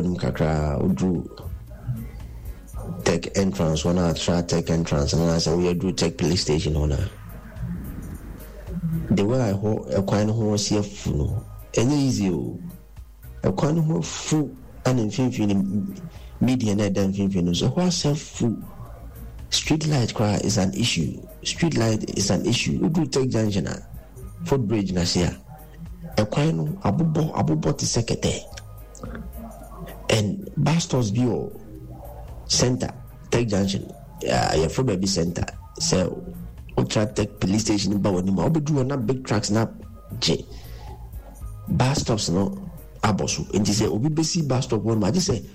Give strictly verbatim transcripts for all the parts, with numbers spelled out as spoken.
w'anim kakra, woduru Tech entrance hɔ no, atra Tech entrance no, anaasɛ woyɛ duru Tech police station hɔ no a, the way a ɛhɔ ɛkwan no ho asi afu no, ɛnyɛ easy o. Ɛkwan no ho afu, ɛna mfimfini no, median na ɛda mfimfini no nso ɛhɔ asɛ afu. Street light koraa is an issue. Street light is an issue. Woduru Tech junction a, footbridge na se a, ɛkwan no abobɔ abobɔ te sɛ kɛtɛ. And bus stops bi wɔ center Tech junction, yɛfrɛ baabi center. Sɛ wotra Tech police station ba w'anim a, wobɛduru hɔ na big trucks na gye bus stops no abɔ so. Nti sɛ obi bɛsi bus stop hɔ no, agye sɛ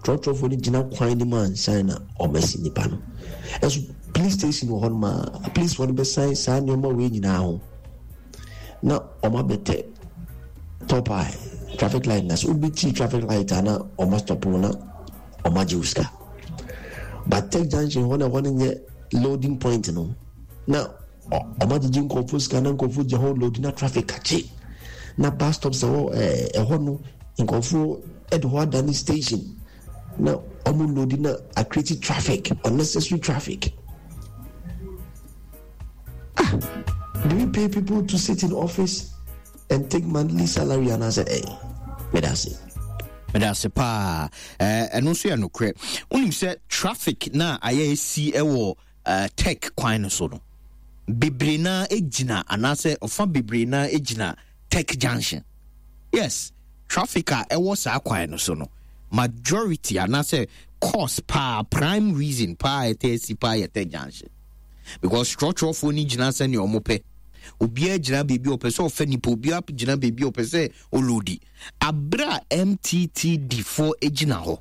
trɔtrɔfoɔ no gyina kwan no mu ansan na ɔmasi nipa no. Ɛnso police station wɔ hɔ nom a, policefoɔ no bɛsan saa nneɛma wei nyinaa ho na ɔma bɛtɛ top eye traffic light na sɛ wobɛkyi traffic light a, na ɔma stop na ɔma gye wo sika. But Tech junction hɔ na ɛhɔ no nyɛ loading point no, na ɔma gyegye nkurɔfoɔ sika na nkurɔfoɔ gya hɔ load na traffic akye, na bus stops ɛwɔ ɛɛ ɛhɔ no, nkurɔfoɔ ɛde hɔ adane station na ɔmo load na acreate traffic, unnecessary traffic. Ah, do we pay people to sit in office and take monthly salary anaasɛ ɛy? Meda ase. Meda ase paa. Ɛno nso yɛ nokorɛ. Wonim sɛ traffic na ayɛ esi ɛwɔ Tech kwan no so no, bebree na gyina, anaasɛ ɔfa bebree na gyina Tech junction. Yes, traffic a ɛwɔ saa kwan no so no, majority anaasɛ cause paa, prime reason paa ɛtɛ asi paa yɛ Tech junction, because trɔtrɔfoɔ no gyina sɛnea ɔmo pɛ. Obiara gyina baabi a ɔpɛ sɛ ɔfɛ nipa, obiara gyina baabi a ɔpɛ sɛ ɔload. Abere a M T T D foɔ gyina hɔ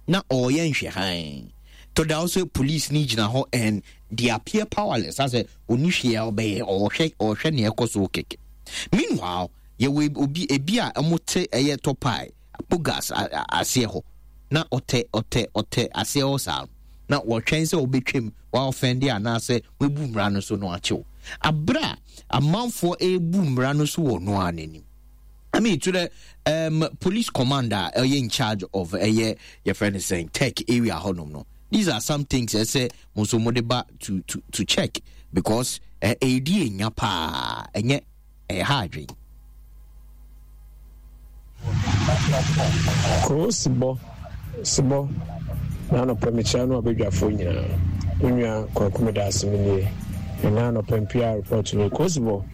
na ɔreyɛ nhwɛhan tɔda sɛ police ni gyina hɔ and they appear powerless, asɛ oni hwee a ɔbɛyɛ, ɔhwɛ ɔhwɛ nea ɛkɔ so kɛkɛ. Meanwhile, yɛwɔ obi ebi a wɔn te ɛyɛ tɔpae apogas aseɛ hɔ na ɔtɛ ɔtɛ ɔtɛ aseɛ hɔ saa na wɔtwɛn sɛ ɔbɛtwam wɔafɛnde anaasɛ wɔabu mmara no so no akyew, abere a amanfoɔ ebu mmara no so wɔ noa n'anim. I mean, to the um, police commander ɛyɛ in charge of ɛyɛ yɛfrɛ no sɛn, Tech area hɔnom no, these are some things ɛsɛ mo nso mo de ba to to to check, because ɛɛdi enya paa, ɛnyɛ ɛyɛ ha adwene. Kuro sibɔ sibɔ na anɔpɛ mekyia no abadwafoɔ nyinaa. Wo nua Kwaku, meda ase. Me nie ɛna anɔpɛ mpia report no. Kuro sibɔ,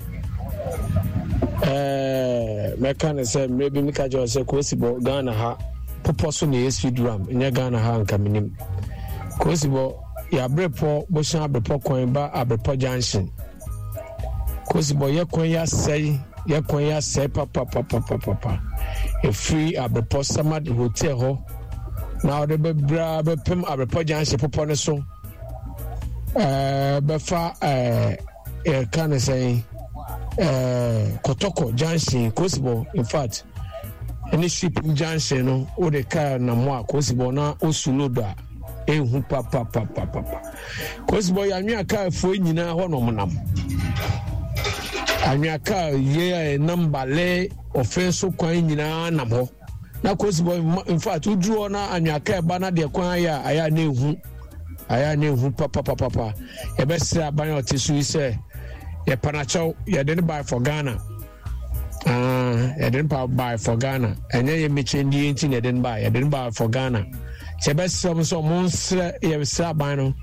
ɛɛ mɛka ne sɛ mmerɛ bi meka kyerɛ sɛ kuro sibɔ, Ghana ha popɔ so na ɛyɛ speed ramp, nyɛ Ghana ha nka menim. Kuro sibɔ, yɛabrepɔ bohyɛn Abrepɔ kwan ba Abrepɔ junction. Kuro sibɔ, yɛ kwan yɛ asɛe, yɛ kwan yɛ asɛe papapapapapa. Ɛfiri Abrepɔ Samad Hotel hɔ na ɔde bɛbra bɛpem Abrepɔ junction popɔ no so, ɛɛ bɛfa ɛɛ yɛka ne sɛn, ɛɛ Kɔtɔkɔ junction. Kosibɔ, in fact, ɛne Ship junction no, wode kaa nam hɔ a, kosibɔ, na osu load a ehu papapapapa. Kosibɔ, yɛ anwea kaa foɔ nyinaa hɔ nom nam anwea kaa yie a ɛnam bale ɔfɛn so kwan nyinaa nam hɔ na kosibɔ, in fact, woduru hɔ na anwea kaa ɛba na deɛ kwan ayɛ a, ayɛ a na ehu, ayɛ a na ehu papapapapa. Yɛbɛsrɛ aban a ɔte so yi sɛ yɛpanakyɛw, yɛde ne buy for Ghana. Ah, yɛde ne buy for Ghana, ɛnyɛ yɛ mmekyɛndie nti na yɛde ne buy, yɛde ne buy for Ghana. Sɛ yɛbɛsrɛ mo sɛ ɔmo nsrɛ, yɛsrɛ aban no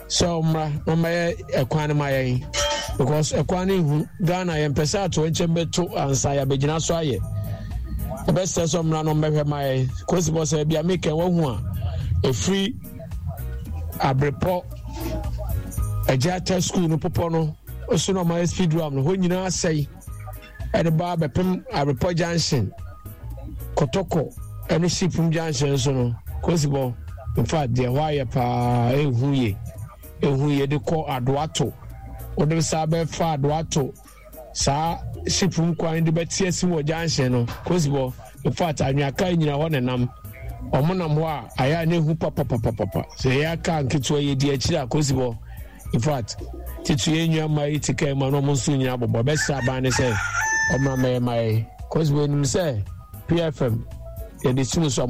sɛ ɔmmra na ɔmmɛyɛ ɛkwan no ma yɛn, because ɛkwan no ehu. Ghana yɛmpɛ sɛ ato nkyɛn bɛto ansa yɛabɛgyina so ayɛ. Yɛbɛsrɛ sɛ ɔmmra na ɔmmɛhwɛ ma yɛn. Kosi bɔ sɛ bia meka wahu a, ɛfiri Abrepɔ Agya school no popɔ no so na ɔmayɛ speed ramp no hɔ nyinaa asɛe, ɛde ba bɛpem Abrepɔ junction, Kɔtɔkɔ ɛne Shipum junction so no. Kosibɔ, in fact, deɛ hɔ ayɛ paa ehu yie, ehu yie. De kɔ Adoato, wode saa bɛfa Adoato saa Shipum kwan de bɛte asi wɔ junction no. Kosibɔ, in fact, anweaka nyina hɔ nenam, ɔmo nam hɔ a, ayɛ a ne ehu papapapapa. Sɛ ɛyɛ aka nketewa yɛ di akyire a, kosibɔ, in fact, titi yɛn nua mmaa yi ti kaa mu a, na ɔmo nso nyina bɔbɔ. Bɛsrɛ aban ne sɛ ɔmo amɛyɛ ma yɛ. Kosibɔ, enim sɛ P F M yɛde si mu so.